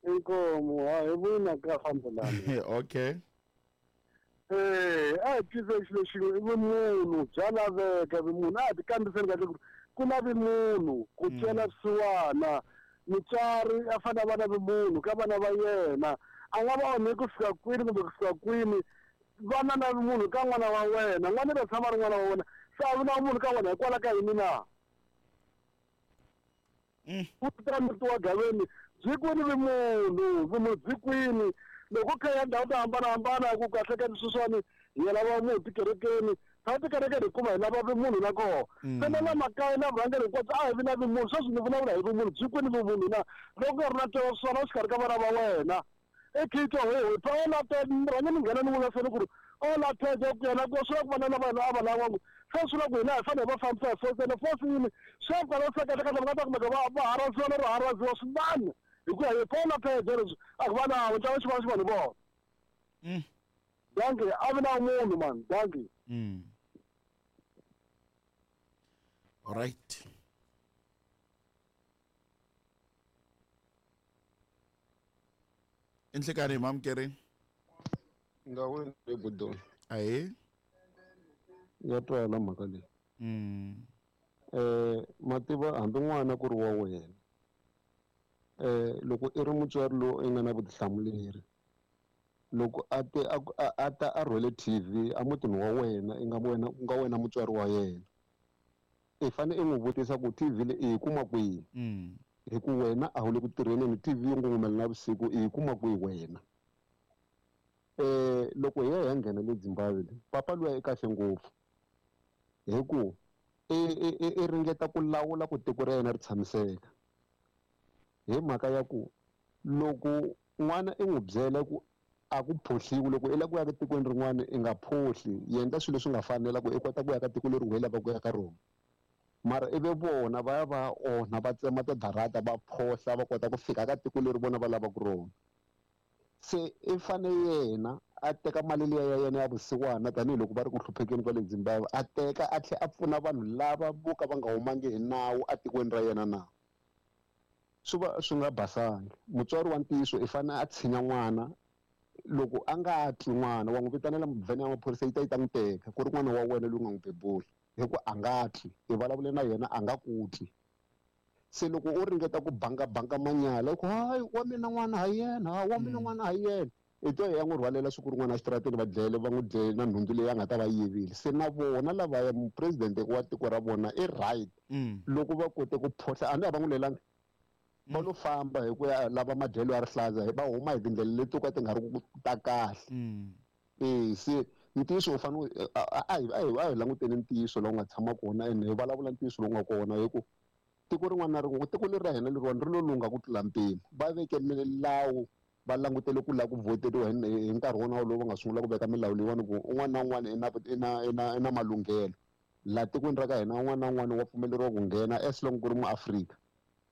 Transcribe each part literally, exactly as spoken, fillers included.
Inkomo ha hi vona ka fambelana. Okay. Eh, a hi twisise xilo xin'we i vumunhu bya laveka vumunhu a hi tikambiseni kahle ku ku na vumunhu ku twela vusiwana mutswari a fanele a va na vumunhu ka vana va yena a nga va onhi ku fika kwini kumbe ku fika kwini vana na vumunhu ka n'wana wa wena n'wana ta tshama ri n'wana wa wena se a vi na vumunhu ka wena hikwalaho ka yini na ku ta muti wa Gaveni byi kwini vumunhu vumunhu byi kwini loko kha ya ndhawu to hambanahambana ku kahle ka sweswiwani hi ya lava munhu tikerekeni ta tikerekeni hikuva hi lava vumunhu na koho se na la makaya na vurhangeri hinkwabyo a hi vi na vumunhu sweswi ni vulavula hi vumunhu byi kwini vumunhu na loko ku nga ri na ntwelavusiwana exikarhi ka vana va wena i khitwa ho pa ola te rhange ni nghena ni vulaseni ku ri ola teje ku yena ku swi la ku vana lava hina a va lavangu se swi la ku hina hi fanele hi va fambisa hi force ene force yini swi ya kwala se kahle kahle va nga ta kumeka va va haraziwa no ri haraziwa swinene hi ku ya hi ola teje leswi a ku va nawo ntlangu xi va xi vanhu vona danki a vi na munhu man danki. All right. Inhlekani mamkeri. Ngawe ebudoni. Aye. Ya twala mhaka leyi. Mm. Eh mativa hambi n'wana ku ri wa wena. Eh loko i ri mutswari lowu i nga na vutihlamuleri. Loko a te a ta a rhwele T V a mutini wa wena i nga wena ku nga wena mutswari wa yena. I fanele i n'wi vutisa ku T V leyi i yi kuma kwihi. Mm. Hi ku wena a wu le ku tirheni ni T V yi ngungumela na vusiku i yi kuma kwihi wena. Eh loko hi ya hi ya nghena le Zimbabwe le papa luya i kahle ngopfu hi ku i i i ringeta ku lawula ku tiko ra yena ri tshamiseka hi mhaka ya ku loko n'wana i n'wi byela ku a ku phohliwi loko i lava ku ya ka tikweni rin'wana i nga phohli endla swilo leswi nga fanela ku i kota ku ya ka tiko leri u lavaka ku ya ka rona mara ivi vona va ya va onha va tsema tidarata va phohla va kota ku fika ka tiko leri vona va lavaka rona se i fane yena a teka mali liya ya yena ya vusiwana tanihiloko va ri ku hluphekeni kwale Zimbabwe a teka a tlhela a pfuna vanhu lava vo ka va nga humangi hi nawu etikweni ra yena na swi va swi nga basangi mutswari wa ntiyiso i fane a tshinya n'wana loko a nga twi n'wana wa n'wi vitanela vhene ya maphorisa yi ta yi ta n'wi teka ku ri n'wana wa wena loyi u nga n'wi bebula hi ku a nga twi i vulavule na yena a nga ku twi se loko u ringeta ku banga banga manyala ku hayi wa mina n'wana ha yena wa mina n'wana ha yena i to ya n'wi rhwalela siku rin'wana exitarateni va dlele va n'wi dlele na nhundzu leyi a nga ta va yivile se na vona lavaya mupresidente wa tiko ra vona i right loko va kote ku phohla a ni a va n'wi lelangi va lo famba hi ku ya lava madyelo ya rihlaza va huma hi tindlela leti to ka ti nga ri ku ta kahle eh se ntiyiso u fanele a hi a hi a hi languteni ntiyiso lowu nga tshama kona ene hi vulavula ntiyiso lowu nga kona hi ku tiko rin'wana na rin'wana tiko leri ra hina leriwani ri lo lungha ku tlula mpimo va veke milawu va langutele ku lava ku voteriwa hi nkarhi wona lowu va nga sungula ku veka milawu leyiwani ku un'wana na un'wana i na i na i na i na malunghelo laha tikweni ra ka hina un'wana na un'wana wa pfumeleriwa ku nghena as long ku ri muAfrika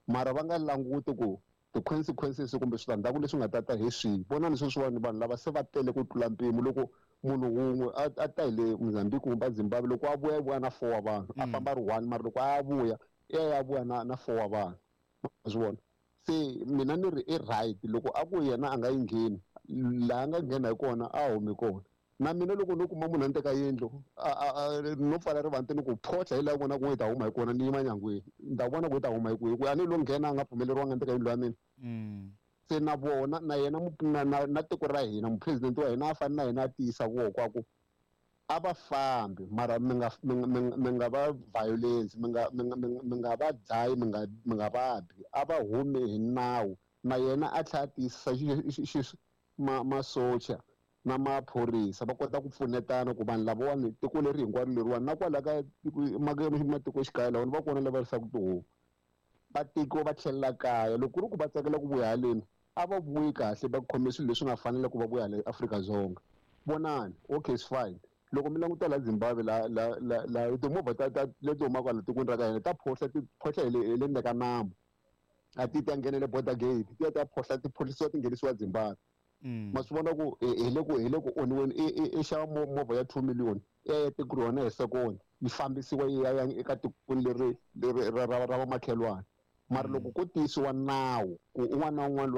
mara va nga languti ku ti-consequences kumbe switandzhaku leswi nga ta ta hi swihi vonani sweswiwani vanhu lava se va tele ku tlula mpimo loko munhu wun'we a ta hi le Mozambique kumbe Zimbabwe loko a vuya i vuya na four wa vanhu a famba a ri one mara loko a vuya i ya ya vuya na na four wa vanhu ma swi vona se mina ni ri i right loko a ku yena a nga yi ngheni laha a nga nghena hi kona a humi kona na mina loko no kuma munhu a ni teka yindlu no pfala rivanti ni ku phohla hi laha vona ku yi ta huma hi kona ni yima nyangweni ni ta vona ku yi ta huma hi kwihi ku a ni lo nghena a nga pfumeleriwanga ni teka yindlu ya mina se na vona na yena na na na tiko ra hina mupresidente wa hina a fane na yena a tiyisa voko a ku a va fambi mara mi nga mi nga va violence mi nga mi nga mi nga va dlayi mi nga mi nga va bi a va humi hi nawu na yena a tlhela a tiyisisa ma masocha na maphorisa va kota ku pfunetana ku vanhu lavawani tiko leri hinkwaro leriwani na kwala ka matikoxikaya lawani va kona lava risaka tihomu va tiko va tlhelela kaya loko ku ri ku va tsakela ku vuya haleni a va vuyi kahle va khome swilo leswi nga fanela ku va vuya hala Afrika-Dzonga vonani okay it's fine loko mi languta la Zimbabwe la la la la timovha ta ta leti humaka hala tikweni ra ka hina ta phohla ti phohla hi le hi le ndzeni ka nambu a ti ta nghenele border gate ti ya ta phohla ti phohlisiwa ti nghenisiwa Zimbabwe ma swi vona ku hi le ku hi le ku onhiweni i i xava movha ya two million i ya ya tiko rona hi second yi fambisiwa yi ya ya eka tikweni leri leri ra ra ra vamakhelwani mara loko ko tiyisiwa nawu ku un'wana na un'wana loyi